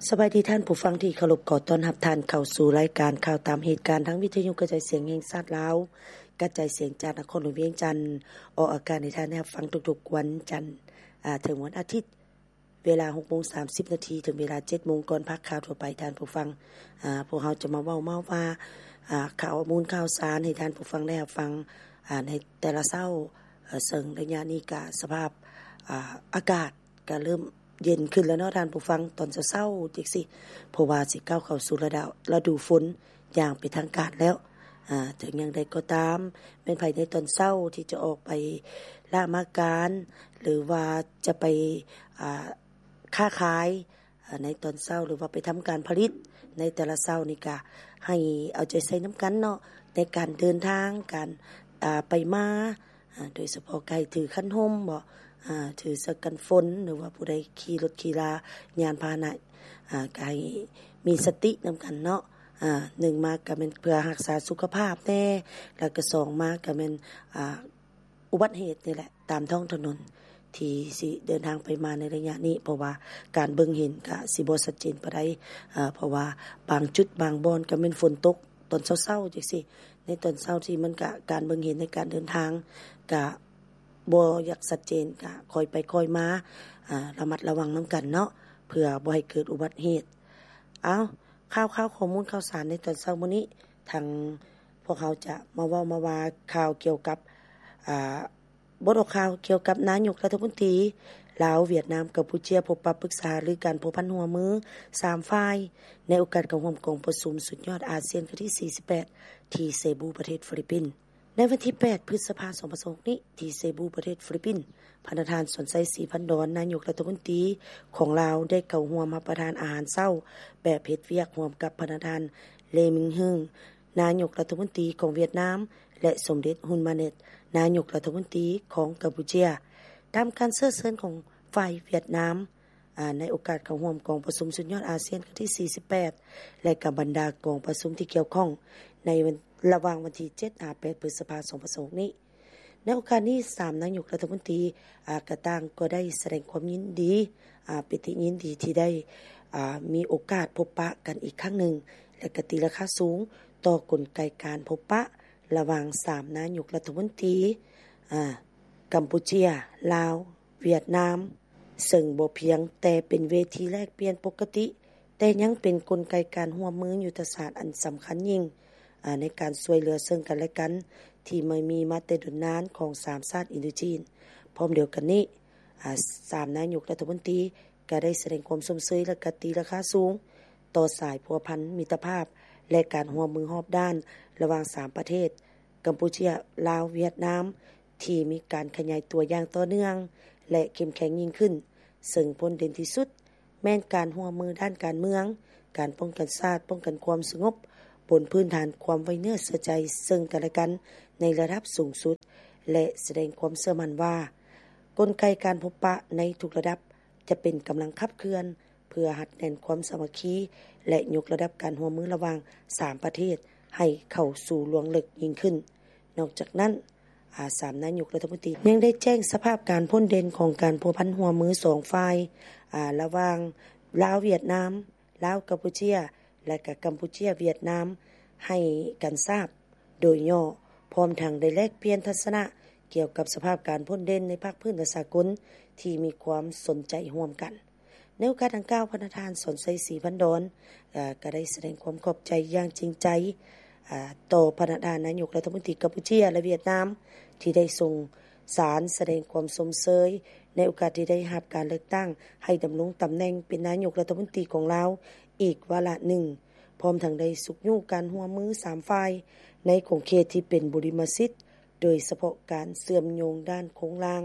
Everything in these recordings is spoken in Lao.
ສະບາຍດີທ່ານຜູ້ຟັງທີ່ເຄົາລົບ, ຂໍຕ້ອນຮັບທ່ານເຂົ້າສູ່ລາຍການຂ່າວຕາມເຫດການ ທາງວິທະຍຸກະຈາຍສຽງແຫ່ງຊາດລາວ, ກະຈາຍສຽງຈາກນະຄອນຫຼວງວຽງຈັນ, ອອກອາກາດໃຫ້ທ່ານໄດ້ຮັບຟັງທຸກໆວັນຈັນ ອາ ເຖິງວັນອາທິດ ເວລາຫົກໂມງສາມສິບນາທີ ເຖິງເວລາເຈັດໂມງ ກ່ອນພາກຂ່າວທົ່ວໄປ. ທ່ານຜູ້ຟັງ ອາ ພວກເຮົາຈະມາເວົ້າມາວ່າ ອາ ຂໍ້ມູນຂ່າວສານໃຫ້ທ່ານຜູ້ຟັງໄດ້ຮັບຟັງ ອາ ໃນແຕ່ລະເຊົ້າ, ເຊິ່ງໄລຍະນີ້ກະສະພາບ ອາ ອາກາດກະເລີ່ມເຢັນຂຶ້ນແລ້ວເນາະທ່ານຜູ້ຟັງ, ຕອນເຊົ້າໆ ຈັ່ງຊີ້ ເພາະວ່າຊິກ້າວເຂົ້າສູ່ລະດູ ລະດູຝົນ ຢ່າງເປັນທາງການແລ້ວ. ອາ ເຖິງຢ່າງໃດກໍຕາມ, ແມ່ນໃຜໃນຕອນເຊົ້າທີ່ຈະອອກໄປລະມາການ ຫຼືວ່າຈະໄປ ອາ ຄ້າຂາຍ ອາ ໃນຕອນເຊົ້າ ຫຼືວ່າໄປທຳການຜະລິດໃນແຕ່ລະເຊົ້ານີ້ ກະໃຫ້ເອົາໃຈໃສ່ນຳກັນເນາະ ໃນການເດີນທາງ ການ ອາ ໄປມາ ອາ ໂດຍສະເພາະກະໃຫ້ຖືຄັນຮົ່ມເບາະ ອາ ຖືເສື້ອກັນຝົນ ຫຼືວ່າຜູ້ໃດຂີ່ລົດຂີ່ລາ ຍານພາຫະນະ ອາ ກະໃຫ້ມີສະຕິນຳກັນເນາະ. ອາ ໜຶ່ງມາກະແມ່ນເພື່ອຮັກສາສຸຂະພາບແດ່ ແລ້ວກະສອງມາກະແມ່ນ ອາ ອຸບັດເຫດນີ້ແຫຼະ ຕາມທ້ອງຖະໜົນທີ່ຊິເດີນທາງໄປມາໃນໄລຍະນີ້ ເພາະວ່າການເບິ່ງເຫັນກະຊິບໍ່ຊັດເຈນປານໃດ ເພາະວ່າບາງຈຸດບາງບ່ອນກະແມ່ນຝົນຕົກຕອນເຊົ້າໆ ຈັ່ງຊີ້ ໃນຕອນເຊົ້າທີ່ມັນກະ ການເບິ່ງເຫັນໃນການເດີນທາງກະບໍ່ຢາກຊັດເຈນ ກະຄ່ອຍໄປຄ່ອຍມາ ອາ ລະມັດລະວັງນຳກັນເນາະ ເພື່ອບໍ່ໃຫ້ເກີດອຸບັດເຫດ. ເອົ້າ ຂ່າວໆ ຂໍ້ມູນຂ່າວສານໃນຕອນເຊົ້າມື້ນີ້ ທາງພວກເຮົາຈະມາເວົ້າມາວ່າຂ່າວກ່ຽວກັບ ອາ ບົດອອກຂ່າວກ່ຽວກັບນາຍົກລັດຖະມົນຕີລາວ, ຫວຽດນາມ, ກຳປູເຈຍ ພົບປະປຶກສາຫາລືການພົວພັນຮ່ວມມືສາມຝ່າຍ ໃນໂອກາດເຂົ້າຮ່ວມກອງປະຊຸມສຸດຍອດອາຊຽນຄັ້ງທີສີ່ສິບແປດ ທີ່ເຊບູ ປະເທດຟີລິບປິນ. ໃນວັນທີແປດ ພຶດສະພາ ສອງພັນຊາວຫົກນີ້ ທີ່ເຊບູ ປະເທດຟີລິບປິນ, ພະນະທ່ານ ສອນໄຊ ສີພັນດອນ ນາຍົກລັດຖະມົນຕີຂອງລາວ ໄດ້ເຂົ້າຮ່ວມຮັບປະທານອາຫານເຊົ້າແບບເຮັດວຽກຮ່ວມກັບພະນະທ່ານ ເລ ມິງຮຶງ ນາຍົກລັດຖະມົນຕີຂອງຫວຽດນາມ ແລະ ສົມເດັດ ຮຸນ ມາເນັດ ນາຍົກລັດຖະມົນຕີຂອງກຳປູເຈຍ. ຕາມການເຊື້ອເຊີນຂອງຝ່າຍຫວຽດນາມ ອາ ໃນໂອກາດເຂົ້າຮ່ວມກອງປະຊຸມສຸດຍອດອາຊຽນຄັ້ງທີສີ່ສິບແປດ ແລະ ກັບບັນດາກອງປະຊຸມທີ່ກ່ຽວຂ້ອງ ໃນວັນ ລະຫວ່າງວັນທີເຈັດ ຫາ ແປດ ພຶດສະພາ ສອງພັນຊາວຫົກນີ້. ໃນໂອກາດນີ້ ສາມນາຍົກລັດຖະມົນຕີ ອາ ກະຕ່າງກໍໄດ້ສະແດງຄວາມຍິນດີ ອາ ປິຕິຍິນດີທີ່ໄດ້ ອາ ມີໂອກາດພົບປະກັນອີກຄັ້ງໜຶ່ງ ແລະ ກະຕີລາຄາສູງຕໍ່ກົນໄກການພົບປະລະຫວ່າງສາມນາຍົກລັດຖະມົນຕີ ອາ ກຳປູເຈຍ, ລາວ, ຫວຽດນາມ ເຊິ່ງບໍ່ພຽງແຕ່ເປັນເວທີແລກປ່ຽນປົກກະຕິ, ແຕ່ຍັງເປັນກົນໄກການຮ່ວມມືຍຸດທະສາດອັນສຳຄັນຍິ່ງ ອາ ໃນການຊ່ວຍເຫຼືອເຊິ່ງກັນແລະກັນ ທີ່ມາມີມາແຕ່ດົນນານຂອງສາມຊາດອິນໂດຈີນ. ພ້ອມດຽວກັນນີ້ ອາ ສາມນາຍົກລັດຖະມົນຕີກະໄດ້ສະແດງຄວາມຊົມເຊີຍ ແລະ ກະຕີລາຄາສູງຕໍ່ສາຍພົວພັນມິດຕະພາບ ແລະ ການຮ່ວມມືຮອບດ້ານລະຫວ່າງສາມປະເທດ ກຳປູເຈຍ, ລາວ, ຫວຽດນາມ ທີ່ມີການຂະຫຍາຍຕົວຢ່າງຕໍ່ເນື່ອງ ແລະ ເຂັ້ມແຂງຍິ່ງຂຶ້ນ, ເຊິ່ງພົ້ນເດັ່ນທີ່ສຸດ ແມ່ນການຮ່ວມມືດ້ານການເມືອງ, ການປ້ອງກັນຊາດ, ປ້ອງກັນຄວາມສະຫງົບ ບົນພື້ນຖານຄວາມໄວ້ເນື້ອເຊື່ອໃຈເຊິ່ງກັນແລະກັນໃນລະດັບສູງສຸດ ແລະ ສະແດງຄວາມເຊື່ອໝັ້ນວ່າ ກົນໄກການພົບປະໃນທຸກລະດັບຈະເປັນກຳລັງຂັບເຄື່ອນ ເພື່ອຮັດແໜ້ນຄວາມສາມັກຄີ ແລະ ຍົກລະດັບການຮ່ວມມືລະຫວ່າງສາມປະເທດໃຫ້ເຂົ້າສູ່ລວງເລິກຍິ່ງຂຶ້ນ. ນອກຈາກນັ້ນ ອາ ສາມນາຍົກລັດຖະມົນຕີຍັງໄດ້ແຈ້ງສະພາບການພົ້ນເດັ່ນຂອງການພົວພັນຮ່ວມມືສອງຝ່າຍ ອາ ລະຫວ່າງລາວ-ຫວຽດນາມ, ລາວ-ກຳປູເຈຍ ແລະ ກະກຳປູເຈຍ-ຫວຽດນາມ ໃຫ້ກັນຊາບໂດຍຫຍໍ້, ພ້ອມທັງໄດ້ແລກປ່ຽນທັດສະນະກ່ຽວກັບສະພາບການພົ້ນເດັ່ນໃນພາກພື້ນ ແລະ ສາກົນທີ່ມີຄວາມສົນໃຈຮ່ວມກັນ. ໃນໂອກາດດັ່ງກ່າວ, ພະນະທ່ານ ສອນໄຊ ສີພັນດອນ ເອີ ກໍໄດ້ສະແດງຄວາມຂອບໃຈຢ່າງຈິງໃຈ ເອີ ຕໍ່ພະນະທ່ານນາຍົກລັດຖະມົນຕີກຳປູເຈຍ ແລະ ຫວຽດນາມ ທີ່ໄດ້ສົ່ງສານສະແດງຄວາມຊົມເຊີຍ ໃນໂອກາດທີ່ໄດ້ຮັບການເລືອກຕັ້ງໃຫ້ດຳລົງຕຳແໜ່ງເປັນນາຍົກລັດຖະມົນຕີຂອງລາວອີກວາລະໜຶ່ງ, ພ້ອມທັງໄດ້ຊຸກຍູ້ການຮ່ວມມືສາມຝ່າຍ ໃນຂົງເຂດທີ່ເປັນບຸລິມະສິດ, ໂດຍສະເພາະການເຊື່ອມໂຍງດ້ານໂຄງລ່າງ,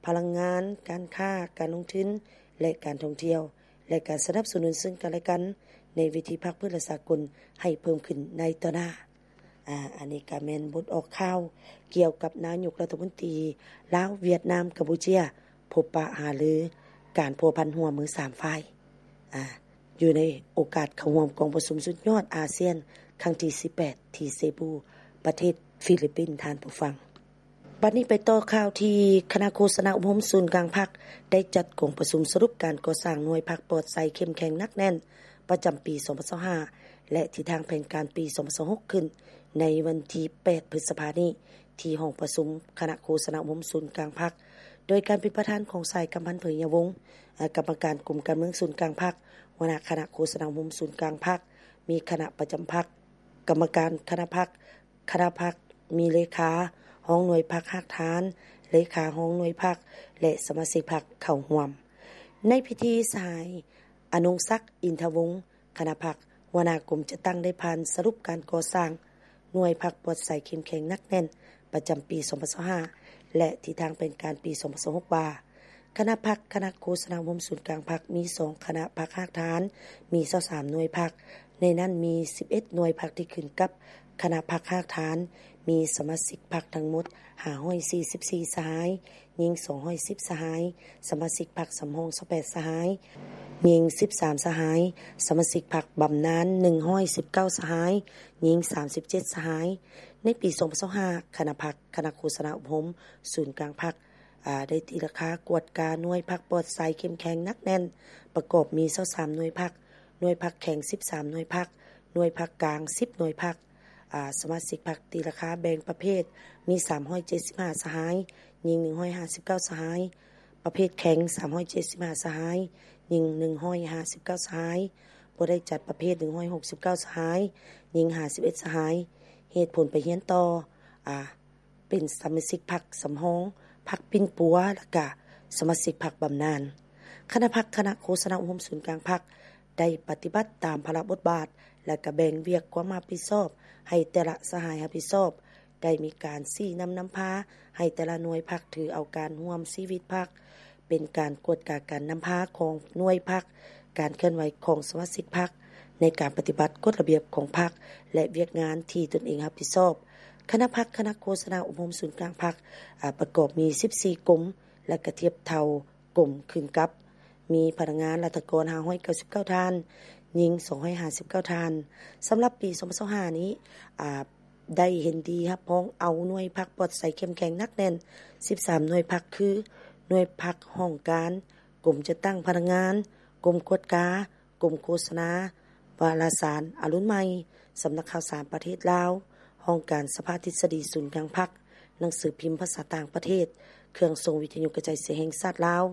ພະລັງງານ, ການຄ້າ, ການລົງທຶນ ແລະ ການທ່ອງທ່ຽວ ແລະ ການສະໜັບສະໜູນເຊິ່ງກັນແລະກັນ ໃນເວທີພາກພື້ນ ແລະ ສາກົນໃຫ້ເພີ່ມຂຶ້ນໃນຕໍ່ໜ້າ. ອາ ອັນນີ້ກໍແມ່ນບົດອອກຂ່າວກ່ຽວກັບນາຍົກລັດຖະມົນຕີລາວ, ຫວຽດນາມ, ກຳປູເຈຍ ພົບປະຫາລືການພົວພັນຮ່ວມມືສາມຝ່າຍ ອາ ຢູ່ໃນໂອກາດເຂົ້າຮ່ວມກອງປະຊຸມສຸດຍອດອາຊຽນຄັ້ງທີສິບແປດ ທີ່ເຊບູ ປະເທດຟີລິບປິນ. ທ່ານຜູ້ຟັງ. ບັດນີ້ໄປຕໍ່ຂ່າວທີ່ຄະນະໂຄສະນາອົບຮົມສູນກາງພັກ ໄດ້ຈັດກອງປະຊຸມສະຫຼຸບການກໍ່ສ້າງໜ່ວຍພັກປອດໃສເຂັ້ມແຂງໜັກແໜ້ນ ປະຈຳປີສອງພັນຊາວຫ້າ ແລະ ທິດທາງແຜນການປີສອງພັນຊາວຫົກ ຂຶ້ນໃນວັນທີແປດ ພຶດສະພານີ້ ທີ່ຫ້ອງປະຊຸມຄະນະໂຄສະນາອົບຮົມສູນກາງພັກ ໂດຍການເປັນປະທານຂອງ ສາຍ ກຳພັນ ເຜີຍຍາວົງ ກຳມະການກົມການເມືອງສູນກາງພັກ, ຫົວໜ້າຄະນະໂຄສະນາອົບຮົມສູນກາງພັກ, ມີຄະນະປະຈຳພັກ, ກຳມະການຄະນະພັກ, ຄະນະພັກມີເລຂາ, ຮອງໜ່ວຍພັກຮາກຖານ, ເລຂາຮອງໜ່ວຍພັກ ແລະ ສະມາຊິກພັກເຂົ້າຮ່ວມ. ໃນພິທີ ສະຫາຍ ອະນົງສັກ ອິນທະວົງ ຄະນະພັກ ຫົວໜ້າກົມຈັດຕັ້ງໄດ້ຜ່ານສະຫຼຸບການກໍ່ສ້າງໜ່ວຍພັກປອດໃສເຂັ້ມແຂງໜັກແໜ້ນ ປະຈຳປີສອງພັນຊາວຫ້າ ແລະ ທິດທາງແຜນການປີສອງພັນຊາວຫົກ ວ່າ ຄະນະພັກ ຄະນະໂຄສະນາອົບຮົມສູນກາງພັກ ມີສອງຄະນະພັກຮາກຖານ ມີຊາວສາມໜ່ວຍພັກ ໃນນັ້ນມີສິບເອັດໜ່ວຍພັກທີ່ຂຶ້ນກັບຄະນະພັກຮາກຖານ ມີສະມາຊິກພັກທັງໝົດຫ້າຮ້ອຍສີ່ສິບສີ່ສະຫາຍ, ຍິງສອງຮ້ອຍສິບສະຫາຍ, ສະມາຊິກພັກສຳຮອງຊາວແປດສະຫາຍ, ຍິງສິບສາມສະຫາຍ, ສະມາຊິກພັກບຳນານໜຶ່ງຮ້ອຍສິບເກົ້າສະຫາຍ, ຍິງສາມສິບເຈັດສະຫາຍ. ໃນປີສອງພັນຊາວຫ້າ ຄະນະພັກ ຄະນະໂຄສະນາອົບຮົມສູນກາງພັກ ອາ ໄດ້ຕີລາຄາກວດກາໜ່ວຍພັກປອດໃສເຂັ້ມແຂງໜັກແໜ້ນ ປະກອບມີຊາວສາມໜ່ວຍພັກ, ໜ່ວຍພັກແຂງສິບສາມໜ່ວຍພັກ, ໜ່ວຍພັກກາງສິບໜ່ວຍພັກ. ອາ ສະມາຊິກພັກຕີລາຄາແບ່ງປະເພດມີສາມຮ້ອຍເຈັດສິບຫ້າສະຫາຍ, ຍິງໜຶ່ງຮ້ອຍຫ້າສິບເກົ້າສະຫາຍ, ປະເພດແຂງສາມຮ້ອຍເຈັດສິບຫ້າສະຫາຍ, ຍິງໜຶ່ງຮ້ອຍຫ້າສິບເກົ້າສະຫາຍ, ບໍ່ໄດ້ຈັດປະເພດໜຶ່ງຮ້ອຍຫົກສິບເກົ້າສະຫາຍ, ຍິງຫ້າສິບເອັດສະຫາຍ. ເຫດຜົນໄປຮຽນຕໍ່ ອາ ເປັນສະມາຊິກພັກສຳຮອງ, ພັກປິ່ນປົວ ແລະ ກະສະມາຊິກພັກບຳນານ. ຄະນະພັກ ຄະນະໂຄສະນາອົບຮົມສູນກາງພັກ ໄດ້ປະຕິບັດຕາມພາລະບົດບາດ ແລະ ກະແບ່ງວຽກຄວາມຮັບຜິດຊອບໃຫ້ແຕ່ລະສະຫາຍຮັບຜິດຊອບ, ໄດ້ມີການຊີ້ນຳນຳພາໃຫ້ແຕ່ລະໜ່ວຍພັກຖືເອົາການຮ່ວມຊີວິດພັກ, ເປັນການກວດກາການນຳພາຂອງໜ່ວຍພັກ, ການເຄື່ອນໄຫວຂອງສະມາຊິກພັກ ໃນການປະຕິບັດກົດລະບຽບຂອງພັກ ແລະ ວຽກງານທີ່ຕົນເອງຮັບຜິດຊອບ. ຄະນະພັກ ຄະນະໂຄສະນາອົບຮົມສູນກາງພັກ ອາ ປະກອບມີສິບສີ່ກົມ ແລະ ກະທຽບເທົ່າກົມຂຶ້ນກັບ ມີພະນັກງານລັດຖະກອນຫ້າຮ້ອຍເກົ້າສິບເກົ້າທ່ານ, ຍິງສອງຮ້ອຍຫ້າສິບເກົ້າທ່ານ. ສຳລັບປີສອງພັນຊາວຫ້ານີ້ ອາ ໄດ້ເຫັນດີຮັບຮອງເອົາໜ່ວຍພັກປອດໃສເຂັ້ມແຂງໜັກແໜ້ນສິບສາມໜ່ວຍພັກ ຄື ໜ່ວຍພັກຫ້ອງການ, ກົມຈັດຕັ້ງພະນັກງານ, ກົມກວດກາ, ກົມໂຄສະນາ, ວາລະສານອາລຸນໃໝ່, ສຳນັກຂ່າວສານປະເທດລາວ, ຫ້ອງການສະພາທິດສະດີສູນກາງພັກ, ໜັງສືພິມພາສາຕ່າງປະເທດ, ເຄື່ອງສົ່ງວິທະຍຸກະຈາຍສຽງແຫ່ງຊາດລາວ,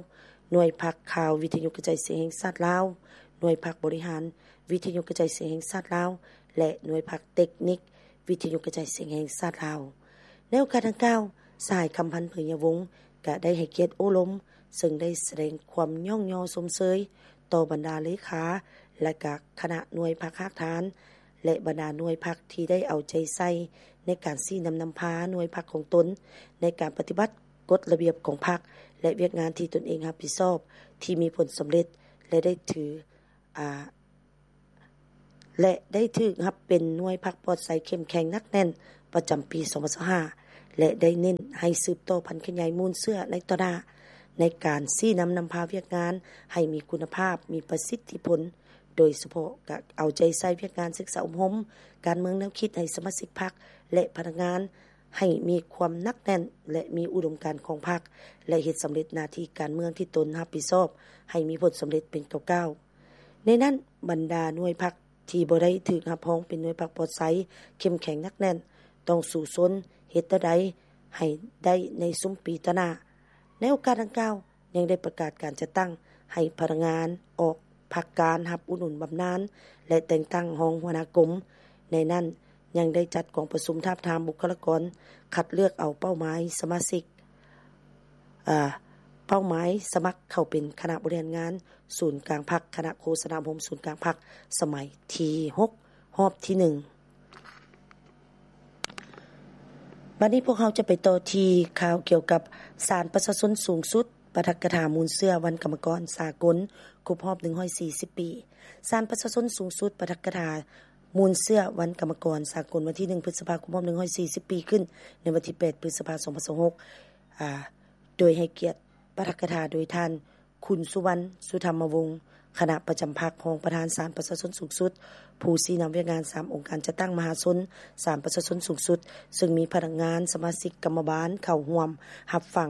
ໜ່ວຍພັກຂ່າວວິທະຍຸກະຈາຍສຽງແຫ່ງຊາດລາວ, ໜ່ວຍພັກບໍລິຫານວິທະຍຸກະຈາຍສຽງແຫ່ງຊາດລາວ ແລະ ໜ່ວຍພັກເຕັກນິກ ວິທະຍຸກະຈາຍສຽງແຫ່ງຊາດລາວ. ໃນໂອກາດດັ່ງກ່າວ, ສະຫາຍ ຄຳພັນ ເຜີຍຍາວົງ ກະໄດ້ໃຫ້ກຽດໂອ້ລົມ, ເຊິ່ງໄດ້ສະແດງຄວາມຍ້ອງຍໍຊົມເຊີຍຕໍ່ບັນດາເລຂາ ແລະ ກະຄະນະໜ່ວຍພັກຮາກຖານ ແລະ ບັນດາໜ່ວຍພັກທີ່ໄດ້ເອົາໃຈໃສ່ໃນການຊີ້ນຳນຳພາໜ່ວຍພັກຂອງຕົນ ໃນການປະຕິບັດກົດລະບຽບຂອງພັກ ແລະ ວຽກງານທີ່ຕົນເອງຮັບຜິດຊອບ ທີ່ມີຜົນສຳເລັດ ແລະ ໄດ້ຖື ອາ ແລະ ໄດ້ຖືກຮັບເປັນໜ່ວຍພັກປອດໃສເຂັ້ມແຂງໜັກແໜ້ນປະຈຳປີສອງພັນຊາວຫ້າ ແລະ ໄດ້ເນັ້ນໃຫ້ສືບຕໍ່ຜັນຂະຫຍາຍມູນເຊື້ອໃນຕໍ່ໜ້າ ໃນການຊີ້ນຳນຳພາວຽກງານໃຫ້ມີຄຸນນະພາບ, ມີປະສິດທິຜົນ, ໂດຍສະເພາະກະເອົາໃຈໃສ່ວຽກງານສຶກສາອົບຮົມການເມືອງແນວຄິດໃຫ້ສະມາຊິກພັກ ແລະ ພະນັກງານ ໃຫ້ມີຄວາມໜັກແໜ້ນ ແລະ ມີອຸດົມການຂອງພັກ ແລະ ເຮັດສຳເລັດໜ້າທີ່ການເມືອງທີ່ຕົນຮັບຜິດຊອບໃຫ້ມີຜົນສຳເລັດເປັນກ້າວໆ. ໃນນັ້ນ, ບັນດາໜ່ວຍພັກທີ່ບໍ່ໄດ້ຖືກຮັບຮອງເປັນໜ່ວຍພັກປອດໃສ, ເຂັ້ມແຂງໜັກແໜ້ນ, ຕ້ອງສູ້ຊົນເຮັດແນວໃດໃຫ້ໄດ້ໃນຊຸມປີຕໍ່ໜ້າ. ໃນໂອກາດດັ່ງກ່າວ, ຍັງໄດ້ປະກາດການຈັດຕັ້ງໃຫ້ພະນັກງານອອກພັກການຮັບອຸດໜູນບຳນານ ແລະ ແຕ່ງຕັ້ງຮອງຫົວໜ້າກົມ. ໃນນັ້ນຍັງໄດ້ຈັດກອງປະຊຸມທາບທາມບຸກຄະລາກອນ, ຄັດເລືອກເອົາເປົ້າໝາຍສະມາຊິກ, ເອີ, ເປົ້າໝາຍສະໝັກເຂົ້າເປັນຄະນະບໍລິຫານງານສູນກາງພັກ, ຄະນະໂຄສະນາອົບຮົມສູນກາງພັກສະໄໝທີຫົກ ຮອບທີໜຶ່ງ. ບັດນີ້ພວກເຮົາຈະໄປຕໍ່ທີ່ຂ່າວກ່ຽວກັບສານປະຊາຊົນສູງສຸດ ປາຖະກະຖາມູນເຊື້ອວັນກຳມະກອນສາກົນຄົບຮອບໜຶ່ງຮ້ອຍສີ່ສິບປີ. ສານປະຊາຊົນສູງສຸດ ປາຖະກະຖາມູນເຊື້ອວັນກຳມະກອນສາກົນ ວັນທີໜຶ່ງ ພຶດສະພາ ຄົບຮອບໜຶ່ງຮ້ອຍສີ່ສິບປີ ຂຶ້ນໃນວັນທີແປດ ພຶດສະພາ ສອງພັນຊາວຫົກ ອາ ໂດຍໃຫ້ກຽດປາຖະກະຖາໂດຍທ່ານ ຄຸນ ສຸວັນ ສຸທຳມະວົງ ຄະນະປະຈຳພັກ, ຮອງປະທານສານປະຊາຊົນສູງສຸດ, ຜູ້ຊີ້ນຳວຽກງານສາມອົງການຈັດຕັ້ງມະຫາຊົນສານປະຊາຊົນສູງສຸດ, ເຊິ່ງມີພະນັກງານ, ສະມາຊິກກຳມະບານເຂົ້າຮ່ວມຮັບຟັງ.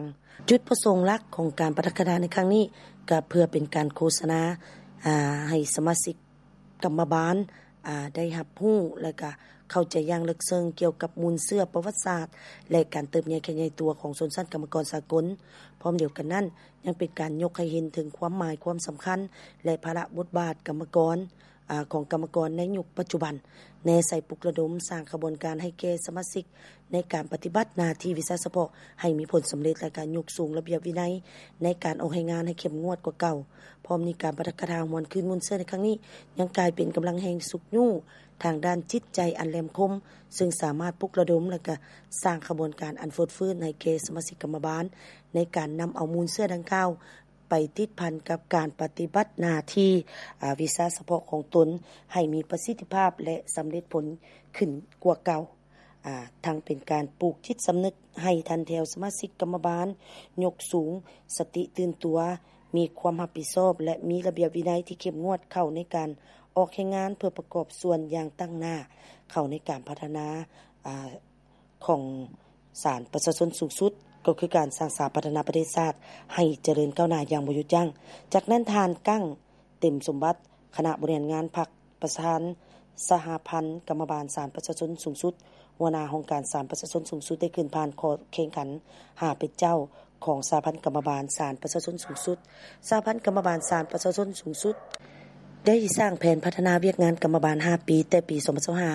ຈຸດປະສົງຫຼັກຂອງການປາຖະກະຖາໃນຄັ້ງນີ້ ກໍເພື່ອເປັນການໂຄສະນາ ອາ ໃຫ້ສະມາຊິກ ກຳມະບານ ອາ ໄດ້ຮັບຮູ້ ແລະ ກະເຂົ້າໃຈຢ່າງເລິກເຊິ່ງກ່ຽວກັບມູນເຊື້ອປະຫວັດສາດ ແລະ ການເຕີບໃຫຍ່ຂະຫຍາຍຕົວຂອງຊົນຊັ້ນກຳມະກອນສາກົນ. ພ້ອມດຽວກັນນັ້ນ ຍັງເປັນການຍົກໃຫ້ເຫັນເຖິງຄວາມໝາຍຄວາມສຳຄັນ ແລະ ພາລະບົດບາດກຳມະກອນ ອາ ຂອງກຳມະກອນໃນຍຸກປັດຈຸບັນ, ແນໃສ່ປຸກລະດົມສ້າງຂະບວນການໃຫ້ແກ່ສະມາຊິກ ໃນການປະຕິບັດໜ້າທີ່ວິຊາສະເພາະໃຫ້ມີຜົນສຳເລັດ ແລະ ການຍົກສູງລະບຽບວິໄນໃນການອອກແຮງງານໃຫ້ເຂັ້ມງວດກວ່າເກົ່າ. ພ້ອມນີ້ ການປາຖະກະຖາຫວນຄືນມູນເຊື້ອໃນຄັ້ງນີ້ ຍັງກາຍເປັນກຳລັງແຮງຊຸກຍູ້ທາງດ້ານຈິດໃຈອັນແຫຼມຄົມ, ເຊິ່ງສາມາດປຸກລະດົມ ແລະ ກະສ້າງຂະບວນການອັນຟົດຟື້ນໃຫ້ແກ່ສະມາຊິກກຳມະບານ ໃນການນຳເອົາມູນເຊື້ອດັ່ງກ່າວ ໄປຕິດພັນກັບການປະຕິບັດໜ້າທີ່ ອາ ວິຊາສະເພາະຂອງຕົນ ໃຫ້ມີປະສິດທິພາບ ແລະ ສຳເລັດຜົນຂຶ້ນກວ່າເກົ່າ. ອາ ທັງເປັນການປູກຈິດສຳນຶກໃຫ້ຖັນແຖວສະມາຊິກກຳມະບານ, ຍົກສູງສະຕິຕື່ນຕົວ, ມີຄວາມຮັບຜິດຊອບ ແລະ ມີລະບຽບວິໄນທີ່ເຂັ້ມງວດເຂົ້າໃນການອອກແຮງງານ ເພື່ອປະກອບສ່ວນຢ່າງຕັ້ງໜ້າເຂົ້າໃນການພັດທະນາ ອາ ຂອງສານປະຊາຊົນສູງສຸດ, ກໍຄືການສ້າງສາພັດທະນາປະເທດຊາດໃຫ້ຈະເລີນກ້າວໜ້າຢ່າງບໍ່ຢຸດຢັ້ງ. ຈາກນັ້ນ ທ່ານ ກັ້ງ ເຕັມສົມບັດ ຄະນະບໍລິຫານງານພັກ, ປະທານສະຫະພັນກຳມະບານສານປະຊາຊົນສູງສຸດ, ຫົວໜ້າຫ້ອງການສານປະຊາຊົນສູງສຸດ ໄດ້ຂຶ້ນຜ່ານຂໍ້ແຂ່ງຂັນຫາເປັນເຈົ້າຂອງສະຫະພັນກຳມະບານສານປະຊາຊົນສູງສຸດ. ສະຫະພັນກຳມະບານສານປະຊາຊົນສູງສຸດ ໄດ້ສ້າງແຜນພັດທະນາວຽກງານກຳມະບານຫ້າປີ ແຕ່ປີສອງພັນຊາວຫ້າ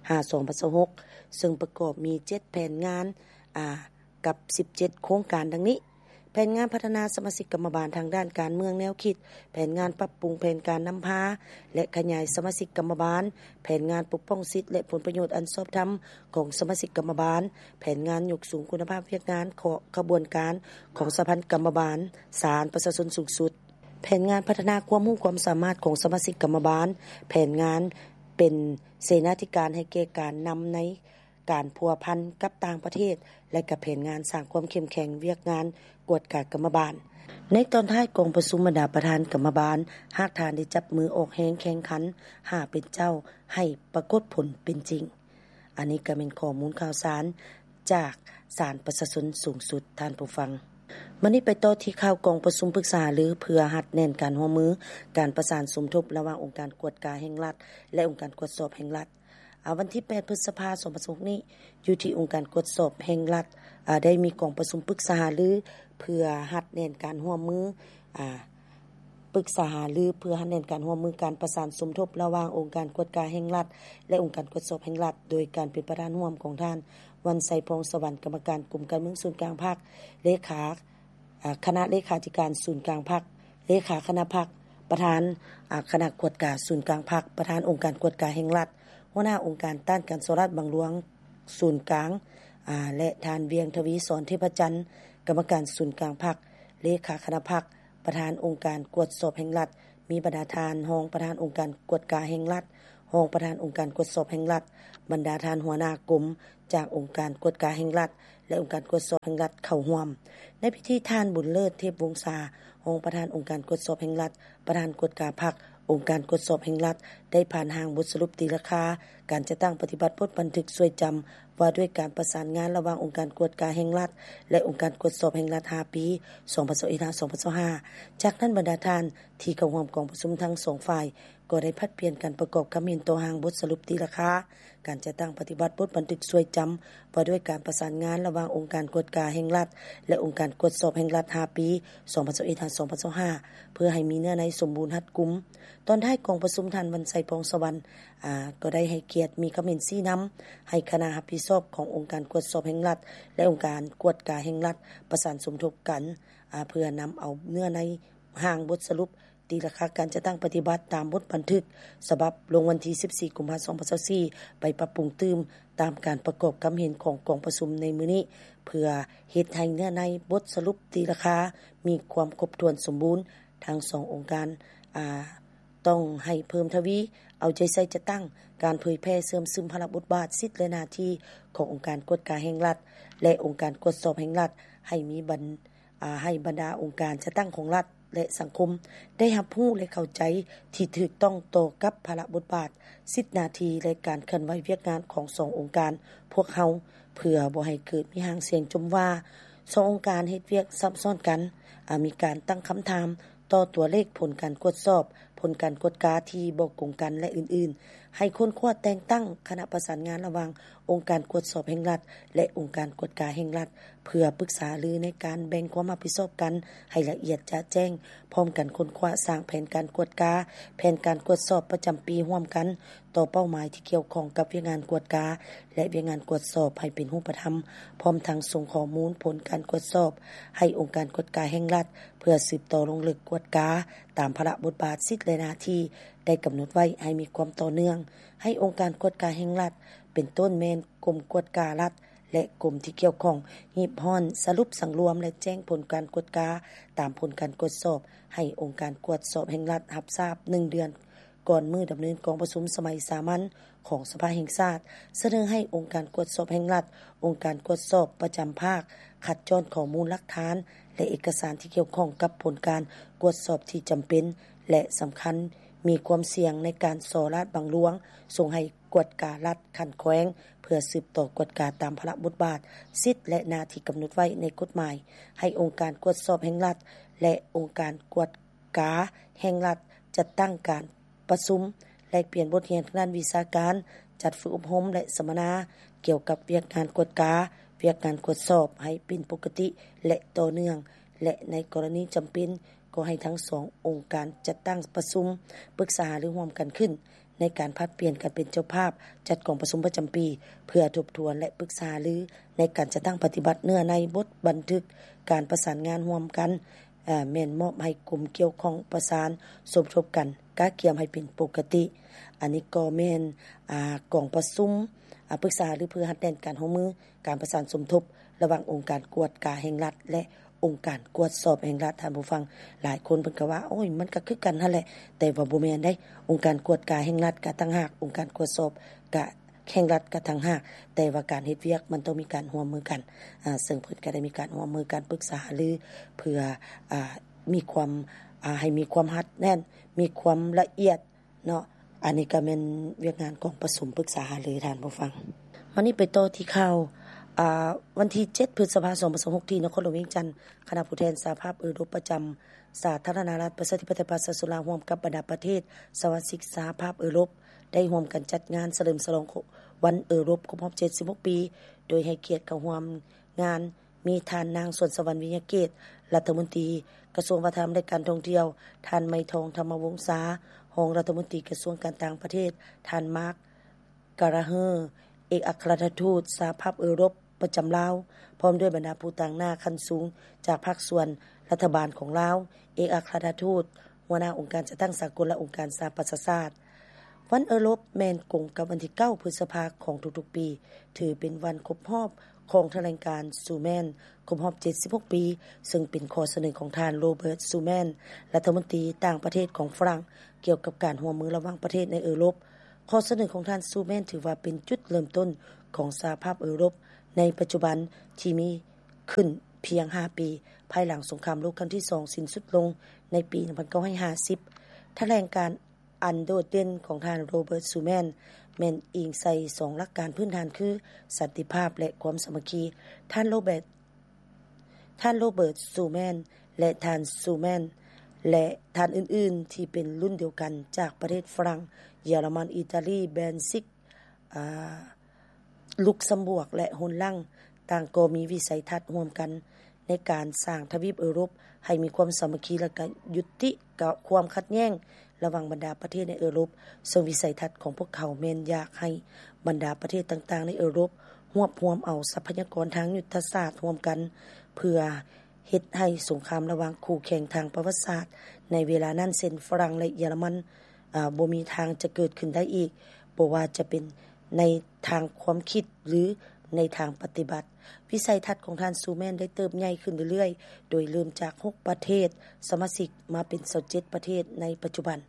ຫາ ສອງພັນຊາວຫົກ ເຊິ່ງປະກອບມີເຈັດແຜນງານ ອາ ກັບສິບເຈັດໂຄງການດັ່ງນີ້: ແຜນງານພັດທະນາສະມາຊິກກຳມະບານທາງດ້ານການເມືອງແນວຄິດ, ແຜນງານປັບປຸງແຜນການນຳພາ ແລະ ຂະຫຍາຍສະມາຊິກກຳມະບານ, ແຜນງານປົກປ້ອງສິດ ແລະ ຜົນປະໂຫຍດອັນຊອບທຳຂອງສະມາຊິກກຳມະບານ, ແຜນງານຍົກສູງຄຸນນະພາບວຽກງານຂອງຂະບວນການຂອງສະຫະພັນກຳມະບານສານປະຊາຊົນສູງສຸດ, ແຜນງານພັດທະນາຄວາມຮູ້ຄວາມສາມາດຂອງສະມາຊິກກຳມະບານ, ແຜນງານເປັນເສນາທິການໃຫ້ແກ່ການນຳໃນ ການພົວພັນກັບຕ່າງປະເທດ ແລະ ກະແຜນງານສ້າງຄວາມເຂັ້ມແຂງວຽກງານກວດກາກຳມະບານ. ໃນຕອນທ້າຍກອງປະຊຸມບັນດາປະທານກຳມະບານ ຫາກທ່ານໄດ້ຈັບມືອອກແຮງແຂ່ງຂັນຫາເປັນເຈົ້າໃຫ້ປາກົດຜົນເປັນຈິງ. ອັນນີ້ກະແມ່ນຂໍ້ມູນຂ່າວສານຈາກສານປະຊາຊົນສູງສຸດ, ທ່ານຜູ້ຟັງ. ບັດນີ້ໄປຕໍ່ທີ່ຂ່າວກອງປະຊຸມປຶກສາຫາລືເພື່ອຮັດແໜ້ນການຮ່ວມມື, ການປະສານສົມທົບລະຫວ່າງອົງການກວດກາແຫ່ງລັດ ແລະ ອົງການກວດສອບແຫ່ງລັດ. ອາ ວັນທີແປດ ພຶດສະພາ ສອງພັນຊາວຫົກນີ້ ຢູ່ທີ່ອົງການກວດສອບແຫ່ງລັດ ອາ ໄດ້ມີກອງປະຊຸມປຶກສາຫາລື ເພື່ອຮັດແໜ້ນການຮ່ວມມື ອາ ປຶກສາຫາລືເພື່ອຮັດແໜ້ນການຮ່ວມມື ການປະສານສົມທົບລະຫວ່າງອົງການກວດກາແຫ່ງລັດ ແລະ ອົງການກວດສອບແຫ່ງລັດ ໂດຍການເປັນປະທານຮ່ວມຂອງທ່ານ ວັນໄຊ ພອງສະຫວັນ ກຳມະການກົມການເມືອງສູນກາງພັກ, ເລຂາ ອາ ຄະນະເລຂາທິການສູນກາງພັກ, ເລຂາຄະນະພັກ, ປະທານ ອາ ຄະນະກວດກາສູນກາງພັກ, ປະທານອົງການກວດກາແຫ່ງລັດ, ຫົວໜ້າອົງການຕ້ານການສໍ້ລາດບັງຫຼວງສູນກາງ ອາ ແລະ ທ່ານ ວຽງທະວີສອນ ເທບພະຈັນ ກຳມະການສູນກາງພັກ, ເລຂາຄະນະພັກ, ປະທານອົງການກວດສອບແຫ່ງລັດ, ມີບັນດາທ່ານຮອງປະທານອົງການກວດກາແຫ່ງລັດ, ຮອງປະທານອົງການກວດສອບແຫ່ງລັດ, ບັນດາທ່ານຫົວໜ້າກົມຈາກອົງການກວດກາແຫ່ງລັດ ແລະ ອົງການກວດສອບແຫ່ງລັດເຂົ້າຮ່ວມ. ໃນພິທີ ທ່ານ ບຸນເລີດ ເທບວົງສາ ຮອງປະທານອົງການກວດສອບແຫ່ງລັດ, ປະທານກວດກາພັກອົງການກວດສອບແຫ່ງລັດ ໄດ້ຜ່ານຮ່າງບົດສະຫຼຸບຕີລາຄາການຈັດຕັ້ງປະຕິບັດບົດບັນທຶກຊ່ວຍຈຳ ວ່າດ້ວຍການປະສານງານລະຫວ່າງອົງການກວດກາແຫ່ງລັດ ແລະ ອົງການກວດສອບແຫ່ງລັດ ຫ້າປີ ສອງພັນຊາວເອັດ ຫາ ສອງພັນຊາວຫ້າ. ຈາກນັ້ນ ບັນດາທ່ານທີ່ເຂົ້າຮ່ວມກອງປະຊຸມທັງສອງຝ່າຍ ກໍໄດ້ຜັດປ່ຽນກັນປະກອບຄຳເຫັນຕໍ່ຮ່າງບົດສະຫຼຸບຕີລາຄາການຈັດຕັ້ງປະຕິບັດບົດບັນທຶກຊ່ວຍຈຳ ວ່າດ້ວຍການປະສານງານລະຫວ່າງອົງການກວດກາແຫ່ງລັດ ແລະ ອົງການກວດສອບແຫ່ງລັດ ຫ້າປີ ສອງພັນຊາວເອັດ ຫາ ສອງພັນຊາວຫ້າ ເພື່ອໃຫ້ມີເນື້ອໃນສົມບູນຮັດກຸມ. ຕອນທ້າຍກອງປະຊຸມ ທ່ານ ວັນໄຊ ພອງສະຫວັນ ອາ ກໍໄດ້ໃຫ້ກຽດມີຄຳເຫັນຊີ້ນຳໃຫ້ຄະນະຮັບຜິດຊອບຂອງອົງການກວດສອບແຫ່ງລັດ ແລະ ອົງການກວດກາແຫ່ງລັດ ປະສານສົມທົບກັນ ອາ ເພື່ອນຳເອົາເນື້ອໃນຮ່າງບົດສະຫຼຸບ ຕີລາຄາການຈັດຕັ້ງປະຕິບັດຕາມບົດບັນທຶກສະບັບລົງວັນທີສິບສີ່ ກຸມພາ ສອງພັນຊາວສີ່ ໄປປັບປຸງຕື່ມຕາມການປະກອບຄຳເຫັນຂອງກອງປະຊຸມໃນມື້ນີ້ ເພື່ອເຮັດໃຫ້ເນື້ອໃນບົດສະຫຼຸບຕີລາຄາມີຄວາມຄົບຖ້ວນສົມບູນ. ທັງສອງອົງການ ອາ ຕ້ອງໃຫ້ເພີ່ມທະວີເອົາໃຈໃສ່ຈັດຕັ້ງການເຜີຍແຜ່ເຊື່ອມຊຶມພາລະບົດບາດ, ສິດ ແລະ ໜ້າທີ່ຂອງອົງການກວດກາແຫ່ງລັດ ແລະ ອົງການກວດສອບແຫ່ງລັດ ໃຫ້ມີບັນ ອາ ໃຫ້ບັນດາອົງການຈັດຕັ້ງຂອງລັດ ແລະສັງຄົມ ໄດ້ຮັບຮູ້ ແລະເຂົ້າໃຈທີ່ຖືກຕ້ອງຕໍ່ກັບພາລະບົດບາດ, ສິດໜ້າທີ່ ແລະການເຄື່ອນໄຫວວຽກງານຂອງສອງອົງການພວກເຮົາ ເພື່ອບໍ່ໃຫ້ເກີດມີຫາງສຽງຈົ່ມວ່າ ສອງອົງການເຮັດວຽກຊັບຊ້ອນກັນ, ອາ ມີການຕັ້ງຄຳຖາມຕໍ່ຕົວເລກຜົນການກວດສອບ, ຜົນການກວດກາທີ່ບໍ່ກົງກັນ ແລະອື່ນໆ. ໃຫ້ຄົ້ນຄວ້າແຕ່ງຕັ້ງຄະນະປະສານງານລະຫວ່າງອົງການກວດສອບແຫ່ງລັດ ແລະອົງການກວດກາແຫ່ງລັດ ເພື່ອປຶກສາຫາລືໃນການແບ່ງຄວາມຮັບຜິດຊອບກັນໃຫ້ລະອຽດຈະແຈ້ງ, ພ້ອມກັນຄົ້ນຄວ້າສ້າງແຜນການກວດກາ, ແຜນການກວດສອບປະຈຳປີຮ່ວມກັນ ຕໍ່ເປົ້າໝາຍທີ່ກ່ຽວຂ້ອງກັບວຽກງານກວດກາ ແລະວຽກງານກວດສອບໃຫ້ເປັນຮູບປະທຳ, ພ້ອມທັງສົ່ງຂໍ້ມູນຜົນການກວດສອບໃຫ້ອົງການກວດກາແຫ່ງລັດ ເພື່ອສືບຕໍ່ລົງເລິກກວດກາຕາມພາລະບົດບາດ, ສິດ ແລະໜ້າທີ່ໄດ້ກຳນົດໄວ້ໃຫ້ມີຄວາມຕໍ່ເນື່ອງ, ໃຫ້ອົງການກວດກາແຫ່ງລັດ ເປັນຕົ້ນແມ່ນກົມກວດກາລັດ ແລະກົມທີ່ກ່ຽວຂ້ອງ ຮີບຮ້ອນ, ສະຫຼຸບ, ສັງລວມ ແລະແຈ້ງຜົນການກວດກາຕາມຜົນການກວດສອບ ໃຫ້ອົງການກວດສອບແຫ່ງລັດຮັບຊາບໜຶ່ງເດືອນ ກ່ອນມື້ດຳເນີນກອງປະຊຸມສະໄໝສາມັນຂອງສະພາແຫ່ງຊາດ, ສະເໜີໃຫ້ອົງການກວດສອບແຫ່ງລັດ, ອົງການກວດສອບປະຈຳພາກ ຄັດຈ້ອນຂໍ້ມູນຫຼັກຖານ ແລະເອກະສານທີ່ກ່ຽວຂ້ອງກັບຜົນການກວດສອບທີ່ຈຳເປັນ ແລະສຳຄັນ, ມີຄວາມສ່ຽງໃນການສໍ້ລາດບັງຫຼວງ ສົ່ງໃຫ້ກວດກາລັດຂັ້ນແຂວງ ເພື່ອສືບຕໍ່ກວດກາຕາມພາລະບົດບາດ, ສິດ ແລະໜ້າທີ່ກຳນົດໄວ້ໃນກົດໝາຍ, ໃຫ້ອົງການກວດສອບແຫ່ງລັດ ແລະອົງການກວດ ກາແຫ່ງລັດ ຈັດຕັ້ງການປະຊຸມແລກປ່ຽນບົດຮຽນທາງດ້ານວິຊາການ, ຈັດຝຶກອົບຮົມ ແລະສຳມະນາກ່ຽວກັບວຽກງານກວດກາ, ວຽກງານກວດສອບໃຫ້ເປັນປົກກະຕິ ແລະຕໍ່ເນື່ອງ ແລະໃນກໍລະນີຈຳເປັນ ກໍໃຫ້ທັງສອງອົງການຈັດຕັ້ງປະຊຸມປຶກສາຫາລືຮ່ວມກັນຂຶ້ນ ໃນການຜັດປ່ຽນກັນເປັນເຈົ້າພາບຈັດກອງປະຊຸມປະຈຳປີ ເພື່ອທົບທວນ ແລະປຶກສາຫາລືໃນການຈັດຕັ້ງປະຕິບັດເນື້ອໃນບົດບັນທຶກການປະສານງານຮ່ວມກັນ ແມ່ນມອບໃຫ້ກົມກ່ຽວຂ້ອງປະສານສົມທົບກັນກະກຽມໃຫ້ເປັນປົກກະຕິ. ອັນນີ້ກໍແມ່ນ ອາ ກອງປະຊຸມ ອາ ປຶກສາຫາລືເພື່ອຮັດແໜ້ນການຮ່ວມມື ການປະສານສົມທົບລະຫວ່າງອົງການກວດກາແຫ່ງລັດ ແລະ ອົງການກວດສອບແຫ່ງລັດ. ທ່ານຜູ້ຟັງ ຫຼາຍຄົນເພິ່ນກໍວ່າ ໂອ້ຍ ມັນກໍຄືກັນຫັ້ນແຫຼະ, ແຕ່ວ່າບໍ່ແມ່ນເດ້. ອົງການກວດກາແຫ່ງລັດກໍຕ່າງຫາກ, ອົງການກວດສອບກະ ແຫ່ງລັດກໍຕ່າງຫາກ, ແຕ່ວ່າການເຮັດວຽກມັນຕ້ອງມີການຮ່ວມມືກັນ, ອາ ເຊິ່ງເພິ່ນກໍໄດ້ມີການຮ່ວມມືກັນປຶກສາຫາລື ເພື່ອ ອາ ມີຄວາມ ອາ ໃຫ້ມີຄວາມຮັດແໜ້ນ, ມີຄວາມລະອຽດເນາະ. ອັນນີ້ກໍແມ່ນວຽກງານກອງປະຊຸມປຶກສາຫາລື, ທ່ານຜູ້ຟັງ. ມານີ້ໄປຕໍ່ທີ່ຂ່າວ ອາ ວັນທີເຈັດ ພຶດສະພາ ສອງພັນຊາວຫົກ ທີ່ນະຄອນຫຼວງວຽງຈັນ, ຄະນະຜູ້ແທນສະຫະພາບເອີຣົບປະຈຳ ສາທາລະນະລັດປະຊາທິປະໄຕປະຊາຊົນລາວ ຮ່ວມກັບບັນດາປະເທດສະມາຊິກສະຫະພາບເອີຣົບ ໄດ້ຮ່ວມກັນຈັດງານສະເຫຼີມສະຫຼອງວັນເອີຣົບຄົບຮອບເຈັດສິບຫົກປີ, ໂດຍໃຫ້ກຽດເຂົ້າຮ່ວມງານມີທ່ານນາງ ສວນສະຫວັນ ວິຍະເກດ ລັດຖະມົນຕີກະຊວງວັດທະນະທຳ ແລະ ການທ່ອງທ່ຽວ, ທ່ານ ໄມທອງ ທຳມະວົງສາ ຮອງລັດຖະມົນຕີກະຊວງການຕ່າງປະເທດ, ທ່ານ ມາກ ກາລາເຮີ ເອກອັກຄະລັດຖະທູດສະຫະພາບເອີຣົບປະຈຳລາວ, ພ້ອມດ້ວຍບັນດາຜູ້ຕາງໜ້າຂັ້ນສູງຈາກພາກສ່ວນລັດຖະບານຂອງລາວ, ເອກອັກຄະລັດຖະທູດ, ຫົວໜ້າອົງການຈັດຕັ້ງສາກົນ ແລະ ອົງການສະຫະປະຊາຊາດ. ວັນເອີຣົບແມ່ນກົງກັບວັນທີເກົ້າ ພຶດສະພາຂອງທຸກໆປີ, ຖືເປັນວັນຄົບຮອບຂອງຖະແຫຼງການຊູແມນ ຄົບຮອບເຈັດສິບຫົກປີ, ເຊິ່ງເປັນຂໍ້ສະເໜີຂອງທ່ານ ໂຣເບີດ ຊູແມນ ລັດຖະມົນຕີຕ່າງປະເທດຂອງຝຣັ່ງ ກ່ຽວກັບການຮ່ວມມືລະຫວ່າງປະເທດໃນເອີຣົບ. ຂໍ້ສະເໜີຂອງທ່ານ ຊູແມນ ຖືວ່າເປັນຈຸດເລີ່ມຕົ້ນຂອງສະຫະພາບເອີຣົບໃນປັດຈຸບັນ ທີ່ມີຂຶ້ນພຽງຫ້າປີ ພາຍຫຼັງສົງຄາມໂລກຄັ້ງທີສອງສິ້ນສຸດລົງໃນປີໜຶ່ງພັນເກົ້າຮ້ອຍຫ້າສິບ. ຖະແຫຼງການອັນໂດດເດັ່ນຂອງທ່ານ ໂຣເບີດ ຊູແມນ ແມ່ນອີງໃສ່ສອງຫຼັກການພື້ນຖານຄື ສັນຕິພາບ ແລະ ຄວາມສາມັກຄີ. ທ່ານ ໂຣເບີດ ທ່ານ ໂຣເບີດ ຊູແມນ ແລະ ທ່ານ ຊູແມນ ແລະ ທ່ານອື່ນໆ ທີ່ເປັນລຸ້ນດຽວກັນຈາກປະເທດຝຣັ່ງ, ເຢຍລະມັນ, ອີຕາລີ, ເບນຊິກ, ອາ ລຸກຊຳບວກ ແລະ ໂຮນລັງ ຕ່າງກໍມີວິໄສທັດຮ່ວມກັນໃນການສ້າງທະວີບເອີຣົບໃຫ້ມີຄວາມສາມັກຄີ ແລະ ກະຍຸຕິກະຄວາມຂັດແຍ່ງລະຫວ່າງບັນດາປະເທດໃນເອີຣົບ, ເຊິ່ງວິໄສທັດຂອງພວກເຂົາແມ່ນຢາກໃຫ້ບັນດາປະເທດຕ່າງໆໃນເອີຣົບ ຮວບຮວມເອົາຊັບພະຍາກອນທາງຍຸດທະສາດຮ່ວມກັນ ເພື່ອເຮັດໃຫ້ສົງຄາມລະຫວ່າງຄູ່ແຂ່ງທາງປະຫວັດສາດໃນເວລານັ້ນ ເຊັ່ນ ຝຣັ່ງ ແລະ ເຢຍລະມັນ ອາ ບໍ່ມີທາງຈະເກີດຂຶ້ນໄດ້ອີກ, ບໍ່ວ່າຈະເປັນໃນທາງຄວາມຄິດ ຫຼື ໃນທາງປະຕິບັດ. ວິໄສທັດຂອງທ່ານ ຊູແມນ ໄດ້ເຕີບໃຫຍ່ຂຶ້ນເລື້ອຍໆ, ໂດຍເລີ່ມຈາກຫົກປະເທດສະມາຊິກ ມາເປັນຊາວເຈັດປະເທດໃນປັດຈຸບັນ,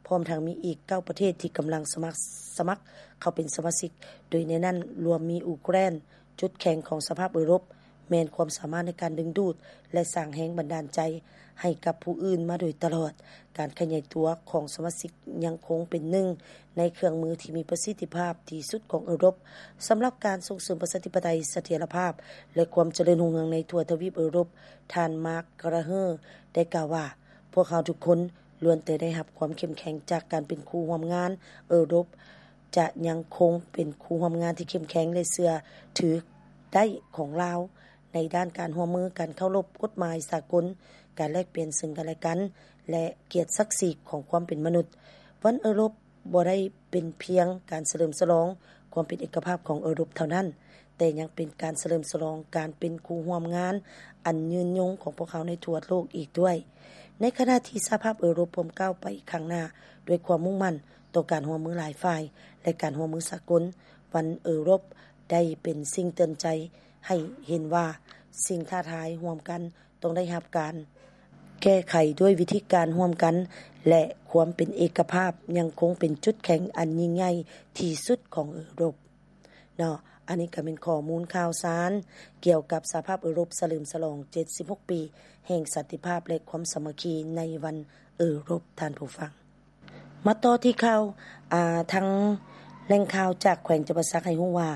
ພ້ອມທັງມີອີກເກົ້າປະເທດທີ່ກຳລັງສະໝັກ ສະໝັກເຂົ້າເປັນສະມາຊິກ, ໂດຍໃນນັ້ນລວມມີອູເຄຣນ, ຈຸດແຂງຂອງສະຫະພາບເອີຣົບ, ແມ່ນຄວາມສາມາດໃນການດຶງດູດ ແລະ ສ້າງແຮງບັນດານໃຈໃຫ້ກັບຜູ້ອື່ນມາໂດຍຕະຫຼອດ. ການຂະຫຍາຍຕົວຂອງສະມາຊິກຍັງຄົງເປັນໜຶ່ງໃນເຄື່ອງມືທີ່ມີປະສິດທິພາບທີ່ສຸດຂອງເອີຣົບ ສຳລັບການສົ່ງເສີມປະຊາທິປະໄຕ, ສະຖຽນລະພາບ ແລະ ຄວາມຈະເລີນຮຸ່ງເຮືອງໃນທົ່ວທະວີບເອີຣົບ. ທ່ານ Mark Gallagher ໄດ້ກ່າວວ່າ, ພວກເຮົາທຸກຄົນລ້ວນແຕ່ໄດ້ຮັບຄວາມເຂັ້ມແຂງຈາກການເປັນຄູ່ຮ່ວມງານເອີຣົບ, ຈະຍັງຄົງເປັນຄູ່ຮ່ວມງານທີ່ເຂັ້ມແຂງ ແລະ ເຊື່ອຖືໄດ້ຂອງລາວ ໃນດ້ານການຮ່ວມມື, ການເຄົາລົບກົດໝາຍສາກົນ, ການແລກປ່ຽນເຊິ່ງກັນແລະກັນ ແລະ ກຽດສັກສີຂອງຄວາມເປັນມະນຸດ. ວັນເອີຣົບບໍ່ໄດ້ເປັນພຽງການສະເຫຼີມສະຫຼອງຄວາມເປັນເອກະພາບຂອງເອີຣົບເທົ່ານັ້ນ, ແຕ່ຍັງເປັນການສະເຫຼີມສະຫຼອງການເປັນຄູ່ຮ່ວມງານອັນຍືນຍົງຂອງພວກເຮົາໃນທົ່ວໂລກອີກດ້ວຍ. ໃນຂະນະທີ່ສະຫະພາບເອີຣົບພວມກ້າວໄປຂ້າງໜ້າດ້ວຍຄວາມມຸ່ງໝັ້ນຕໍ່ການຮ່ວມມືຫຼາຍຝ່າຍ ແລະ ການຮ່ວມມືສາກົນ, ວັນເອີຣົບໄດ້ເປັນສິ່ງເຕືອນໃຈໃຫ້ເຫັນວ່າ ສິ່ງທ້າທາຍຮ່ວມກັນ ຕ້ອງໄດ້ຮັບການແກ້ໄຂດ້ວຍວິທີການຮ່ວມກັນ ແລະ ຄວາມເປັນເອກະພາບຍັງຄົງເປັນຈຸດແຂງອັນຍິ່ງໃຫຍ່ທີ່ສຸດຂອງເອີຣົບເນາະ. ອັນນີ້ກໍແມ່ນຂໍ້ມູນຂ່າວສານກ່ຽວກັບສະຫະພາບເອີຣົບສະເຫຼີມສະຫຼອງເຈັດສິບຫົກປີແຫ່ງສັນຕິພາບ ແລະ ຄວາມສາມັກຄີໃນວັນເອີຣົບ, ທ່ານຜູ້ຟັງ. ມາຕໍ່ທີ່ຂ່າວ, ອາ, ທາງແຫຼ່ງຂ່າວຈາກແຂວງຈຳປາສັກໃຫ້ຮູ້ວ່າ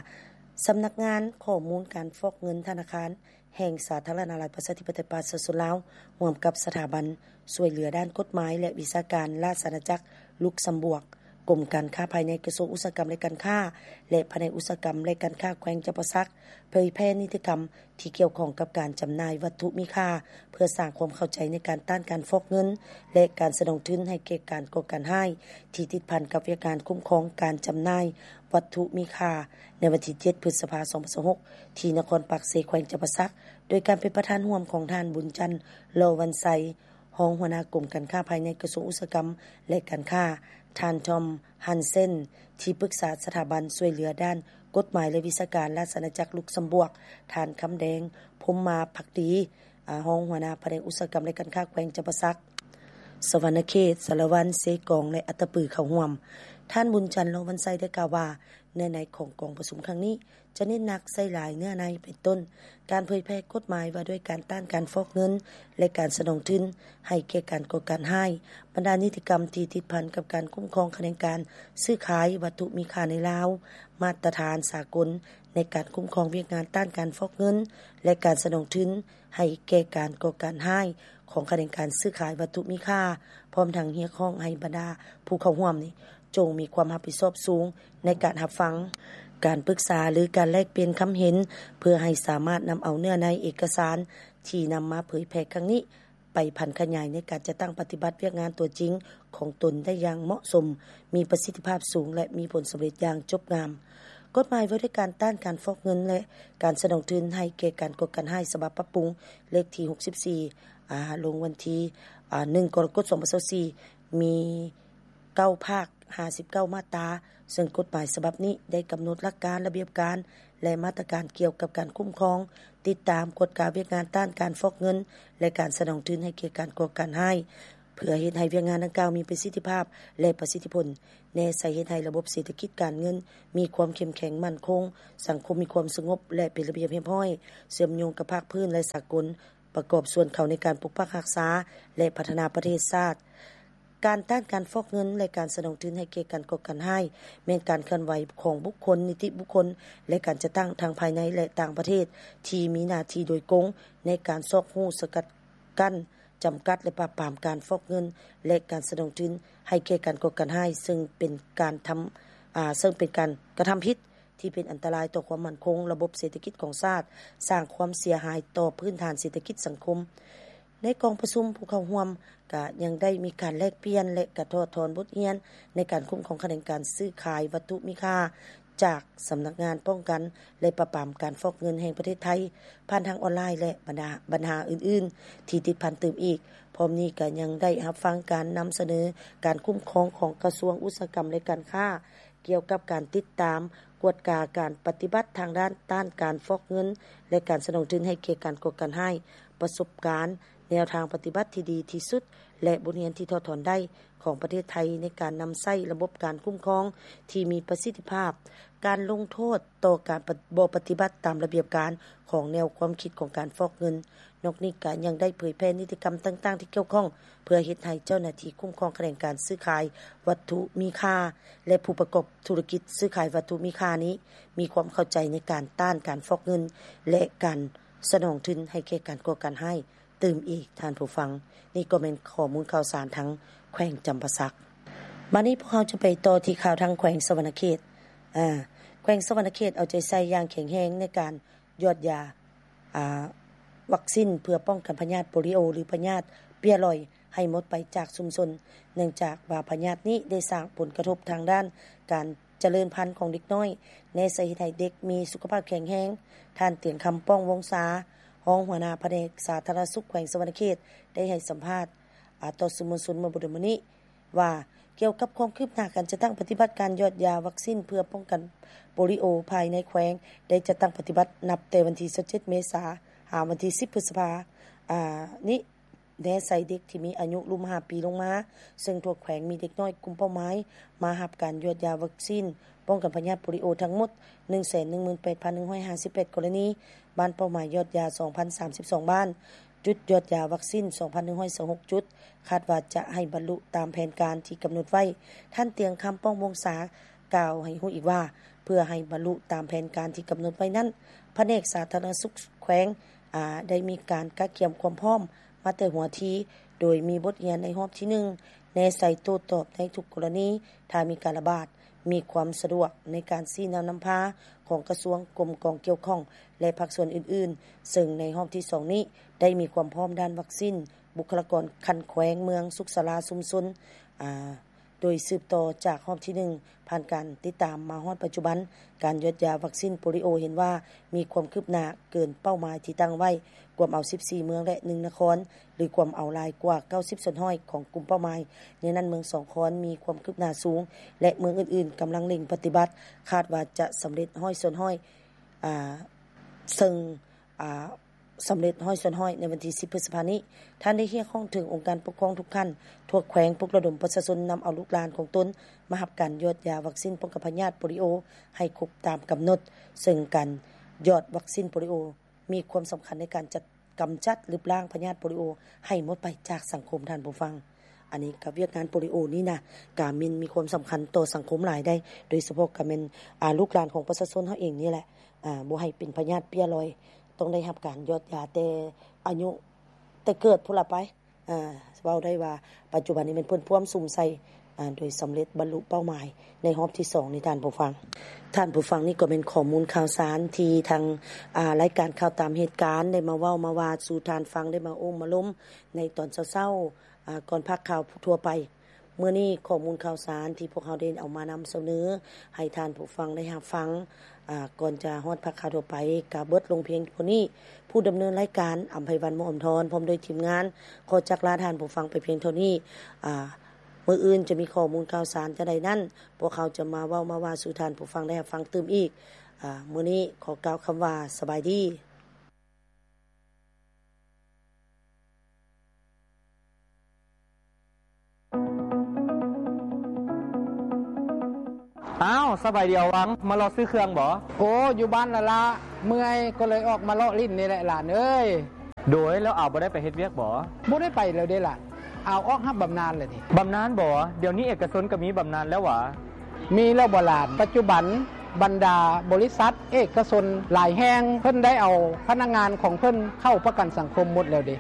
ສຳນັກງານຂໍ້ມູນການຟອກເງິນທະນາຄານແຫ່ງສາທາລະນະລັດປະຊາທິປະໄຕປະຊາຊົນລາວ ຮ່ວມກັບສະຖາບັນຊ່ວຍເຫຼືອດ້ານກົດໝາຍ ແລະ ວິຊາການລາຊະອານາຈັກລຸກຊຳບວກ, ກົມການຄ້າພາຍໃນ ກະຊວງອຸດສາຫະກຳ ແລະ ການຄ້າ ແລະ ພະແນກອຸດສາຫະກຳ ແລະ ການຄ້າແຂວງຈຳປາສັກ ເຜີຍແຜ່ນິຕິກຳ ທີ່ກ່ຽວຂ້ອງກັບການຈຳໜ່າຍວັດຖຸມີຄ່າ ເພື່ອສ້າງຄວາມເຂົ້າໃຈໃນການຕ້ານການຟອກເງິນ ແລະ ການສະໜອງທຶນໃຫ້ແກ່ການກໍ່ການຮ້າຍ ທີ່ຕິດພັນກັບວຽກງານຄຸ້ມຄອງການຈຳໜ່າຍວັດຖຸມີຄ່າ ໃນວັນທີເຈັດ ພຶດສະພາ ສອງພັນຊາວຫົກ ທີ່ນະຄອນປາກເຊ ແຂວງຈຳປາສັກ ໂດຍການເປັນປະທານຮ່ວມຂອງທ່ານ ບຸນຈັນ ຫຼໍ່ວັນໄຊ ຮອງຫົວໜ້າກົມການຄ້າພາຍໃນ ກະຊວງອຸດສາຫະກຳ ແລະ ການຄ້າ, ທ່ານ ທອມ ຮັນເຊັນ ທີ່ປຶກສາສະຖາບັນຊ່ວຍເຫຼືອດ້ານກົດໝາຍ ແລະ ວິຊາການລາຊະອານາຈັກລຸກຊຳບວກ, ທ່ານ ຄຳແດງ ພົມມາພັກດີ ອາ ຮອງຫົວໜ້າພະແນກອຸດສາຫະກຳ ແລະ ການຄ້າແຂວງຈຳປາສັກ, ສະຫວັນນະເຂດ, ສາລະວັນ, ເຊກອງ ແລະ ອັດຕະປື ເຂົ້າຮ່ວມ. ທ່ານ ບຸນຈັນ ຫຼໍ່ວັນໄຊ ໄດ້ກ່າວວ່າ ເນື້ອໃນຂອງກອງປະຊຸມຄັ້ງນີ້ ຈະເນັ້ນໜັກໃສ່ຫຼາຍເນື້ອໃນ ເປັນຕົ້ນ ການເຜີຍແຜ່ກົດໝາຍວ່າດ້ວຍການຕ້ານການຟອກເງິນ ແລະ ການສະໜອງທຶນໃຫ້ແກ່ການກໍ່ການຮ້າຍ, ບັນດານິຕິກຳທີ່ຕິດພັນກັບການຄຸ້ມຄອງຂະແໜງການຊື້ຂາຍວັດຖຸມີຄ່າໃນລາວ, ມາດຕະຖານສາກົນໃນການຄຸ້ມຄອງວຽກງານຕ້ານການຟອກເງິນ ແລະ ການສະໜອງທຶນໃຫ້ແກ່ການກໍ່ການຮ້າຍຂອງຂະແໜງການຊື້ຂາຍວັດຖຸມີຄ່າ, ພ້ອມທັງຮຽກຮ້ອງໃຫ້ບັນດາຜູ້ເຂົ້າຮ່ວມນີ້ ຈົ່ງມີຄວາມຮັບຜິດຊອບສູງໃນການຮັບຟັງການປຶກສາ ຫຼື ການແລກປ່ຽນຄຳເຫັນ ເພື່ອໃຫ້ສາມາດນຳເອົາເນື້ອໃນເອກະສານທີ່ນຳມາເຜີຍແຜ່ຄັ້ງນີ້ ໄປຜັນຂະຫຍາຍໃນການຈັດຕັ້ງປະຕິບັດວຽກງານຕົວຈິງຂອງຕົນໄດ້ຢ່າງເໝາະສົມ, ມີປະສິດທິພາບສູງ ແລະ ມີຜົນສຳເລັດຢ່າງຈົບງາມ. ກົດໝາຍວ່າດ້ວຍການຕ້ານການຟອກເງິນ ແລະ ການສະໜອງທຶນໃຫ້ແກ່ການກໍ່ການຮ້າຍ ສະບັບປັບປຸງ ເລກທີ ຫົກສິບສີ່ ອາ ລົງວັນທີ ອາ ໜຶ່ງ ກໍລະກົດ ສອງພັນຊາວສີ່ ມີ ເກົ້າພາກ ຫ້າສິບເກົ້າມາດຕາ, ເຊິ່ງກົດໝາຍສະບັບນີ້ໄດ້ກຳນົດຫຼັກການ, ລະບຽບການ ແລະ ມາດຕະການກ່ຽວກັບການຄຸ້ມຄອງ, ຕິດຕາມ, ກວດກາວຽກງານຕ້ານການຟອກເງິນ ແລະ ການສະໜອງທຶນໃຫ້ແກ່ການກໍ່ການຮ້າຍ, ເພື່ອເຮັດໃຫ້ວຽກງານດັ່ງກ່າວມີປະສິດທິພາບ ແລະ ປະສິດທິຜົນ, ແນໃສ່ເຮັດໃຫ້ລະບົບເສດຖະກິດການເງິນມີຄວາມເຂັ້ມແຂງໝັ້ນຄົງ, ສັງຄົມມີຄວາມສະຫງົບ ແລະ ເປັນລະບຽບຮຽບຮ້ອຍ, ເຊື່ອມໂຍງກັບພາກພື້ນ ແລະ ສາກົນ, ປະກອບສ່ວນເຂົ້າໃນການປົກປັກຮັກສາ ແລະ ພັດທະນາປະເທດຊາດ. ການຕ້ານການຟອກເງິນ ແລະ ການສະໜອງທຶນໃຫ້ແກ່ການກໍ່ການຮ້າຍ ແມ່ນການເຄື່ອນໄຫວຂອງບຸກຄົນ, ນິຕິບຸກຄົນ ແລະ ການຈັດຕັ້ງທັງພາຍໃນ ແລະ ຕ່າງປະເທດ ທີ່ມີໜ້າທີ່ໂດຍກົງໃນການຊອກຮູ້, ສະກັດກັ້ນ, ຈຳກັດ ແລະ ປາບປາມການຟອກເງິນ ແລະ ການສະໜອງທຶນໃຫ້ແກ່ການກໍ່ການຮ້າຍ, ເຊິ່ງເປັນການທຳ, ອາ, ເຊິ່ງເປັນການກະທຳຜິດ ທີ່ເປັນອັນຕະລາຍຕໍ່ຄວາມໝັ້ນຄົງລະບົບເສດຖະກິດຂອງຊາດ, ສ້າງຄວາມເສຍຫາຍຕໍ່ພື້ນຖານເສດຖະກິດສັງຄົມ. ໃນກອງປະຊຸມ, ຜູ້ເຂົ້າຮ່ວມກະຍັງໄດ້ມີການແລກປ່ຽນ ແລະ ກະຖອດຖອນບົດຮຽນໃນການຄຸ້ມຄອງຂະແໜງການຊື້ຂາຍວັດຖຸມີຄ່າຈາກສຳນັກງານປ້ອງກັນ ແລະ ປາບປາມການຟອກເງິນແຫ່ງປະເທດໄທ ຜ່ານທາງອອນລາຍ ແລະ ບັນຫາ, ບັນຫາອື່ນໆທີ່ຕິດພັນຕື່ມອີກ. ພ້ອມນີ້ກະຍັງໄດ້ຮັບຟັງການນຳສະເໜີການຄຸ້ມຄອງຂອງກະຊວງອຸດສາຫະກຳ ແລະ ການຄ້າ ກ່ຽວກັບການຕິດຕາມ, ກວດກາການປະຕິບັດທາງດ້ານຕ້ານການຟອກເງິນ ແລະ ການສະໜອງທຶນໃຫ້ແກ່ການກໍ່ການຮ້າຍ, ປະສົບການ, ແນວທາງປະຕິບັດທີ່ດີທີ່ສຸດ ແລະ ບົດຮຽນທີ່ຖອດຖອນໄດ້ຂອງປະເທດໄທໃນການນຳໃຊ້ລະບົບການຄຸ້ມຄອງທີ່ມີປະສິດທິພາບ, ການລົງໂທດຕໍ່ການປະ- ບໍ່ປະຕິບັດຕາມລະບຽບການຂອງແນວຄວາມຄິດຂອງການຟອກເງິນ. ນອກນີ້ກໍຍັງໄດ້ເຜີຍແຜ່ນິຕິກຳຕ່າງໆທີ່ກ່ຽວຂ້ອງ ເພື່ອເຮັດໃຫ້ເຈົ້າໜ້າທີ່ຄຸ້ມຄອງຂະແໜງການຊື້ຂາຍວັດຖຸມີຄ່າ ແລະ ຜູ້ປະກອບທຸລະກິດຊື້ຂາຍວັດຖຸມີຄ່ານີ້ ມີຄວາມເຂົ້າໃຈໃນການຕ້ານການຟອກເງິນ ແລະ ການສະໜອງທຶນໃຫ້ແກ່ການກໍ່ການຮ້າຍຕື່ມອີກ, ທ່ານຜູ້ຟັງ. ນີ້ກໍແມ່ນຂໍ້ມູນຂ່າວສານທາງແຂວງຈຳປາສັກ. ບາດນີ້ພວກເຮົາຈະໄປຕໍ່ທີ່ຂ່າວທາງແຂວງສະຫວັນນະເຂດ. ອາ ແຂວງສະຫວັນນະເຂດເອົາໃຈໃສ່ຢ່າງແຂງແຮງໃນການ ຢອດຢາ ອາ ວັກຊິນເພື່ອປ້ອງກັນພະຍາດໂປລິໂອ ຫຼື ພະຍາດເປ້ຍລອຍໃຫ້ໝົດໄປຈາກຊຸມຊົນ, ເນື່ອງຈາກວ່າພະຍາດນີ້ໄດ້ສ້າງຜົນກະທົບທາງດ້ານການຈະເລີນພັນຂອງເດັກນ້ອຍ, ແນໃສ່ເຮັດໃຫ້ເດັກມີສຸຂະພາບແຂງແຮງ. ທ່ານ ຕຽງຄຳ ປ້ອງວົງສາ, ຮອງຫົວໜ້າພະແນກສາທາລະນະສຸກແຂວງສະຫວັນນະເຂດ ໄດ້ໃຫ້ສຳພາດ ອາ ຕໍ່ສື່ມວນຊົນເມື່ອບໍ່ດົນມານີ້ ວ່າ ກ່ຽວກັບຄວາມຄືບໜ້າການຈັດຕັ້ງປະຕິບັດການຢອດຢາວັກຊິນເພື່ອປ້ອງກັນໂປລິໂອພາຍໃນແຂວງ ໄດ້ຈັດຕັ້ງປະຕິບັດນັບແຕ່ວັນທີຊາວເຈັດ ເມສາ ຫາວັນທີສິບ ພຶດສະພາ ອາ ນີ້ ແນໃສ່ເດັກທີ່ມີອາຍຸລຸ່ມຫ້າປີລົງມາ, ເຊິ່ງທົ່ວແຂວງມີເດັກນ້ອຍກຸ່ມເປົ້າໝາຍມາຮັບການຢອດຢາວັກຊິນປ້ອງກັນພະຍາດໂປລິໂອທັງໝົດ ໜຶ່ງແສນໜຶ່ງໝື່ນແປດພັນໜຶ່ງຮ້ອຍຫ້າສິບແປດ ກໍລະນີ, ບ້ານເປົ້າໝາຍຢອດຢາ ສອງພັນສາມສິບສອງ ບ້ານ, ຈຸດຢອດຢາວັກຊິນ ສອງພັນໜຶ່ງຮ້ອຍຊາວຫົກ ຈຸດ, ຄາດວ່າຈະໃຫ້ບັນລຸຕາມແຜນການທີ່ກຳນົດໄວ້. ທ່ານ ຕຽງຄຳ ປ້ອງວົງສາ ກ່າວໃຫ້ຮູ້ອີກວ່າ ເພື່ອໃຫ້ບັນລຸຕາມແຜນການທີ່ກຳນົດໄວ້ນັ້ນ, ພະແນກສາທາລະນະສຸກແຂວງ ອາ ໄດ້ມີການກະກຽມຄວາມພ້ອມມາແຕ່ຫົວທີ, ໂດຍມີບົດຮຽນໃນຮອບທີໜຶ່ງ ແນໃສ່ໂຕ້ຕອບໃນທຸກກໍລະນີ ຖ້າມີການລະບາດ, ມີຄວາມສະດວກໃນການຊີ້ນຳນຳພາຂອງກະຊວງ, ກົມກອງກ່ຽວຂ້ອງ ແລະ ພາກສ່ວນອື່ນໆ, ເຊິ່ງໃນຮອບທີສອງນີ້ໄດ້ມີຄວາມພ້ອມດ້ານວັກຊິນ, ບຸກຄະລາກອນຂັ້ນແຂວງ, ເມືອງ, ສຸກສາລາ, ຊຸມຊົນ, ອາ ໂດຍສືບຕໍ່ຈາກຮອບທີໜຶ່ງ ຜ່ານການຕິດຕາມມາຮອດປັດຈຸບັນ, ການຢອດຢາວັກຊິນໂປລິໂອເຫັນວ່າມີຄວາມຄືບໜ້າເກີນເປົ້າໝາຍທີ່ຕັ້ງໄວ້, ກວມເອົາສິບສີ່ເມືອງ ແລະ ໜຶ່ງນະຄອນ ຫຼື ກວມເອົາຫຼາຍກວ່າເກົ້າສິບສ່ວນຮ້ອຍຂອງກຸ່ມເປົ້າໝາຍ. ໃນນັ້ນເມືອງສອງຄອນມີຄວາມຄືບໜ້າສູງ ແລະ ເມືອງອື່ນໆກຳລັງເລັ່ງປະຕິບັດ, ຄາດວ່າຈະສຳເລັດຮ້ອຍສ່ວນຮ້ອຍ ອາ ເຊິ່ງ ອາ ສຳເລັດຮ້ອຍສ່ວນຮ້ອຍໃນວັນທີສິບ ພຶດສະພານີ້. ທ່ານໄດ້ຮຽກຮ້ອງເຖິງອົງການປົກຄອງທຸກຂັ້ນທົ່ວແຂວງ ປຸກລະດົມປະຊາຊົນນຳເອົາລູກຫຼານຂອງຕົນມາຮັບການຢອດຢາວັກຊິນປ້ອງກັນພະຍາດໂປລິໂອໃຫ້ຄົບຕາມກຳນົດ, ເຊິ່ງການຢອດວັກຊິນໂປລິໂອມີຄວາມສຳຄັນໃນການຈັດ ກຳຈັດລຶບລ້າງພະຍາດໂປລິໂອໃຫ້ໝົດໄປຈາກສັງຄົມ, ທ່ານຜູ້ຟັງ. ອັນນີ້ກໍວຽກງານໂປລິໂອນີ້ນະ ກະແມ່ນມີຄວາມສຳຄັນຕໍ່ສັງຄົມຫຼາຍໃດ໋, ໂດຍສະເພາະກໍແມ່ນ ອາ ລູກຫຼານຂອງປະຊາຊົນເຮົາເອງນີ້ແຫຼະ ອາ ບໍ່ໃຫ້ເປັນພະຍາດເປ້ຍລອຍ, ຕ້ອງໄດ້ຮັບການຢອດຢາແຕ່ອາຍຸ ແຕ່ເກີດພຸ້ນລະໄປ. ອາ ເວົ້າໄດ້ວ່າປັດຈຸບັນນີ້ແມ່ນເພິ່ນພວມສຸມໃສ່ ອາ ໂດຍສຳເລັດບັນລຸເປົ້າໝາຍໃນຮອບທີສອງນີ້ ທ່ານຜູ້ຟັງ. ທ່ານຜູ້ຟັງ, ນີ້ກໍແມ່ນຂໍ້ມູນຂ່າວສານທີ່ທາງ ອາ ລາຍການຂ່າວຕາມເຫດການໄດ້ມາເວົ້າມາວ່າສູ່ທ່ານຟັງ, ໄດ້ມາໂອ້ມາລົມໃນຕອນເຊົ້າໆ ອາ ກ່ອນພາກຂ່າວທົ່ວໄປ. ມື້ນີ້ຂໍ້ມູນຂ່າວສານທີ່ພວກເຮົາໄດ້ເອົາມານຳສະເໜີໃຫ້ທ່ານຜູ້ຟັງໄດ້ຮັບຟັງ ອາ ກ່ອນຈະຮອດພາກຂ່າວທົ່ວໄປ ກະເບິດລົງພຽງເທົ່ານີ້. ຜູ້ດຳເນີນລາຍການ ອຳໄພວັນ ໝໍອຳທອນ ພ້ອມດ້ວຍທີມງານ ຂໍຈັກລາທ່ານຜູ້ຟັງໄປພຽງເທົ່ານີ້. ອາ ມື້ອື່ນຈະມີຂໍ້ມູນຂ່າວສານຈັ່ງໃດນັ້ນ ພວກເຮົາຈະມາເວົ້າມາວ່າສູ່ທ່ານຜູ້ຟັງໄດ້ຮັບຟັງຕື່ມອີກ. ອາ ມື້ນີ້ຂໍກ່າວຄຳວ່າ ສະບາຍດີ. ອ້າວ ສະບາຍດີອາວັງ, ມາເລາະຊື້ເຄື່ອງບໍ? ໂອ້ ຢູ່ບ້ານລະລະ, ເມື່ອຍກໍເລີຍອອກມາເລາະຫຼິ້ນນີ້ແຫຼະຫຼານເອີຍ. ໂດຍ ແລ້ວອາວບໍ່ໄດ້ໄປເຮັດວຽກບໍ? ບໍ່ໄດ້ໄປແລ້ວເດ້ຫຼານ, ອາວອອກຮັບບຳນານແລ້ວເດ້. ບຳນານບໍ? ດຽວນີ້ເອກະຊົນກໍມີບຳນານແລ້ວຫວາ? ມີແລ້ວບໍຫຼານ? ປັດຈຸບັນ ບັນດາບໍລິສັດເອກະຊົນຫຼາຍແຫ່ງ ເພິ່ນໄດ້ເອົາພະນັກງານຂອງເພິ່ນເຂົ້າປະກັນສັງຄົມໝົດແລ້ວເດ້.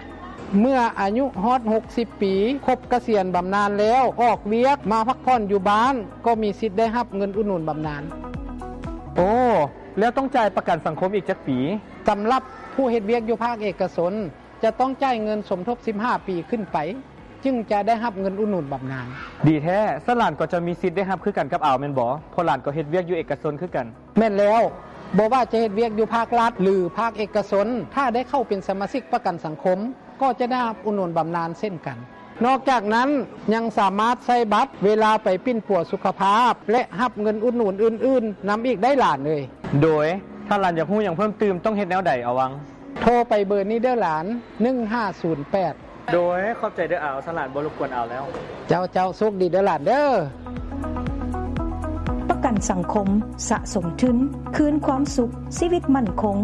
ເມື່ອອາຍຸຮອດຫົກສິບປີ ຄົບກະສຽນບຳນານແລ້ວ ອອກວຽກມາພັກຜ່ອນຢູ່ບ້ານ ກໍມີສິດໄດ້ຮັບເງິນອຸດໜູນບຳນານ. ໂອ້ ແລ້ວຕ້ອງຈ່າຍປະກັນສັງຄົມອີກຈັກປີ? ສຳລັບຜູ້ເຮັດວຽກຢູ່ພາກເອກະຊົນ ຈະຕ້ອງຈ່າຍເງິນສົມທົບສິບຫ້າປີຂຶ້ນໄປ ຈຶ່ງຈະໄດ້ຮັບເງິນອຸດໜູນບຳນານ. ດີແທ້, ຊັ້ນຫຼານກໍຈະມີສິດໄດ້ຮັບຄືກັນກັບອາວແມ່ນບໍ? ເພາະຫຼານກໍເຮັດວຽກຢູ່ເອກະຊົນຄືກັນ. ແມ່ນແລ້ວ, ບໍ່ວ່າຈະເຮັດວຽກຢູ່ພາກລັດ ຫຼື ພາກເອກະຊົນ, ຖ້າໄດ້ເຂົ້າເປັນສະມາຊິກປະກັນສັງຄົມ ກໍຈະໄດ້ຮັບອຸດໜູນບຳນານເຊັ່ນກັນ. ນອກຈາກນັ້ນ ຍັງສາມາດໃຊ້ບັດເວລາໄປປິ່ນປົວສຸຂະພາບ ແລະ ຮັບເງິນອຸດໜູນອື່ນໆນຳອີກໄດ້ຫຼານເອີຍ. ໂດຍ ຖ້າຫຼານຢາກຮູ້ຫຍັງເພີ່ມຕື່ມ ຕ້ອງເຮັດແນວໃດອາວັງ? ໂທໄປເບີນີ້ເດີຫຼານ, ໜຶ່ງຫ້າສູນແປດ ໂດຍ ຂອບໃຈເດີ້ອາວ, ສະຫຼານບໍ່ລົບກວນອາວແລ້ວ. ເຈົ້າ, ເຈົ້າ, ໂຊກດີເດີ້ຫຼານເດີ້. ປະກັນສັງຄົມ, ສະສົມທຶນ, ຄືນຄວາມສຸກ, ຊີວິດໝັ້ນຄົງ.